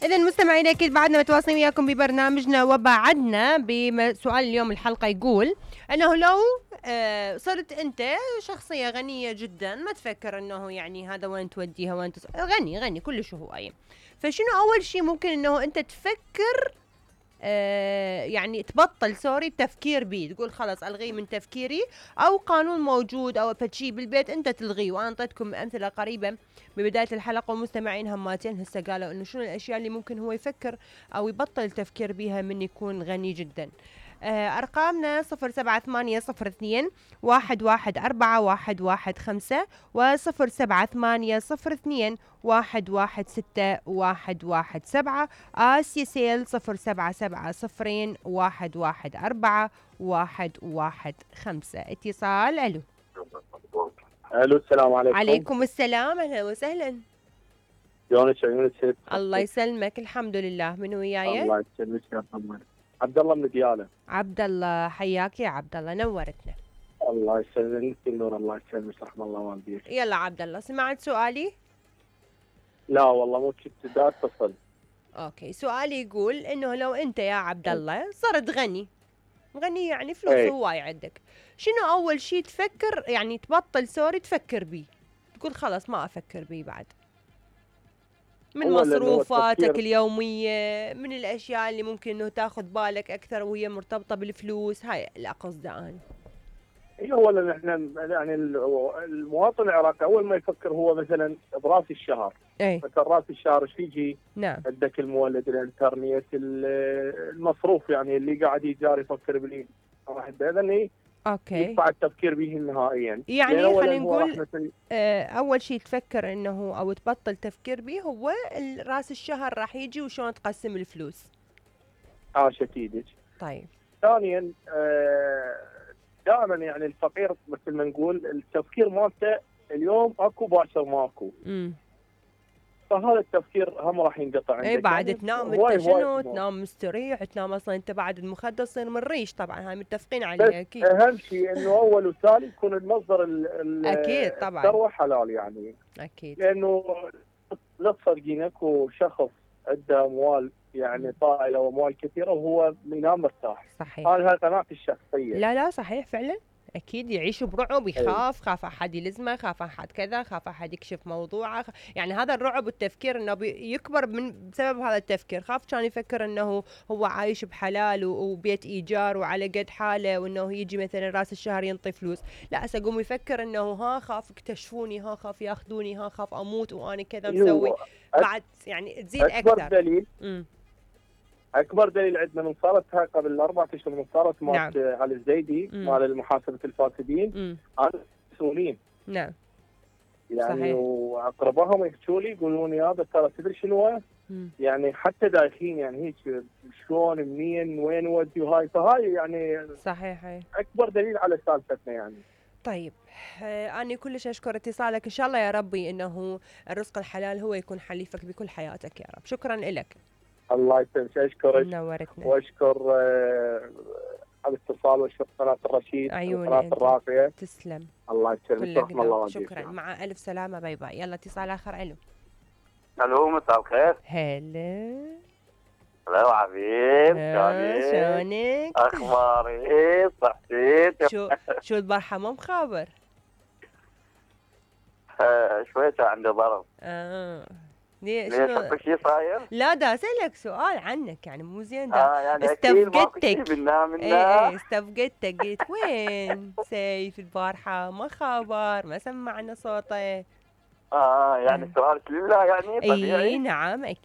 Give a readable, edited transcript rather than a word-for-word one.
إذا مستمعينا أكيد بعدنا متواصلين وياكم ببرنامجنا، وبعدنا بسؤال اليوم. الحلقة يقول أنه لو صرت أنت شخصية غنية جدا، ما تفكر أنه يعني هذا وين توديها وين غني كلش هواية، فشنو أول شيء ممكن أنه أنت تفكر يعني تبطل التفكير بيه، تقول خلاص ألغيه من تفكيري، أو قانون موجود أو فشي بالبيت أنت تلغيه؟ وأنا أعطيتكم أمثلة قريبة ببداية الحلقة، ومستمعين هماتين هسه قالوا إنه شنو الأشياء اللي ممكن هو يفكر أو يبطل التفكير بيها من يكون غني جدا. أرقامنا 078802114115 و078802116117. آسيا سيل 0770114115. اتصال. ألو. الو، السلام عليكم. عليكم السلام، اهلا وسهلا. شلونك يونس؟ الله يسلمك، الحمد لله. من وياي؟ الله يسلمك يا طمن. عبد الله من دياله. عبد الله، حياك يا عبد الله، نورتنا. الله يسلمك النور، الله يسلمك، رحم الله والديك. يلا عبد الله، سمعت سؤالي؟ لا والله مو كنت دا اتصل. اوكي، سؤالي يقول انه لو انت يا عبد الله صرت غني يعني فلوس هواي عندك، شنو اول شيء تفكر يعني تبطل تفكر بيه، تقول خلاص ما افكر بيه بعد، من مصروفاتك اليومية، من الاشياء اللي ممكن انه تاخذ بالك اكثر وهي مرتبطة بالفلوس؟ هاي لا قصدي انا. اولا احنا يعني المواطن العراقي اول ما يفكر هو مثلا براس الشهر. مثلا راس الشهر ايش يجي؟ نعم. عندك المولد، الانترنت، المصروف، يعني اللي قاعد يجار يفكر باللي واحد اذا اوكي يدفع التفكير به نهائيا. يعني خلينا نقول اول شيء تفكر انه او تبطل تفكير به هو راس الشهر راح يجي وشلون تقسم الفلوس. اكيد. طيب. ثانيا دائما يعني الفقير مثل ما نقول التفكير مالته اليوم اكو باكر ماكو. فهذا التفكير هم راح ينقطع عندك. بعد يعني تنام انت شنو؟ تنام مستريح، تنام اصلا انت بعد المخدر تصير من ريش، طبعا هاي متفقين عليها اكيد. اهم شيء انه اول وتالي يكون المصدر اكيد طبعا الثروه حلال يعني. اكيد. لانه لا تصدقين اكو شخص عنده اموال يعني طائله واموال كثيره وهو ينام مرتاح. صحيح. هاي قناعتي الشخصيه. لا صحيح فعلا، اكيد يعيش برعب، يخاف، خاف احد يلزمه، خاف احد كذا، خاف احد يكشف موضوعه، يعني هذا الرعب والتفكير انه يكبر بسبب هذا التفكير. خاف كان يفكر انه هو عايش بحلال وبيت ايجار وعلى قد حاله، وانه يجي مثلا راس الشهر ينطي فلوس، لا هسه يقوم يفكر انه خاف يكتشفوني، خاف ياخذوني، خاف اموت وانا كذا مسوي. بعد يعني تزيد اكثر. اكبر دليل عندنا من صارت هاي قبل 4 اشهر، من صارت مالت علي الزيدي مال محاسبه الفاسدين، انا مسؤولين. نعم. يعني صحيح. واقربائهم يحكوا لي يقولوا لي هذا ترى تدري شنو يعني حتى دايخين يعني هيك شلون منين وين ودي هاي. فهاي يعني صحيح اكبر دليل على سالفتنا يعني. طيب أنا كلش أشكر اتصالك، إن شاء الله يا ربي إنه الرزق الحلال هو يكون حليفك بكل حياتك يا رب. شكرا لك. الله يسلمك، اشكرك. نورتنا. واشكر على الاتصال، واشكر قناه الرشيد وقناه الراقيه. تسلم. الله يسلمك، رحم الله والديك. شكرا، مع الف سلامه، باي باي. يلا اتصال اخر. الو، مساء الخير. هلا. هلا حبيب، شلونك؟ اخباري؟ صحتك؟ شو البارحه مو مخابر؟ شويه عندي ضرب. ليش شيء صاير؟ لا دا اسالك سؤال عنك يعني مو زين دا. يعني استفقدتك. استفقدتك، قلت وين سيف البارحه ما خبر، ما سمعنا صوته. يعني سؤالك لله يعني طبيعي. نعم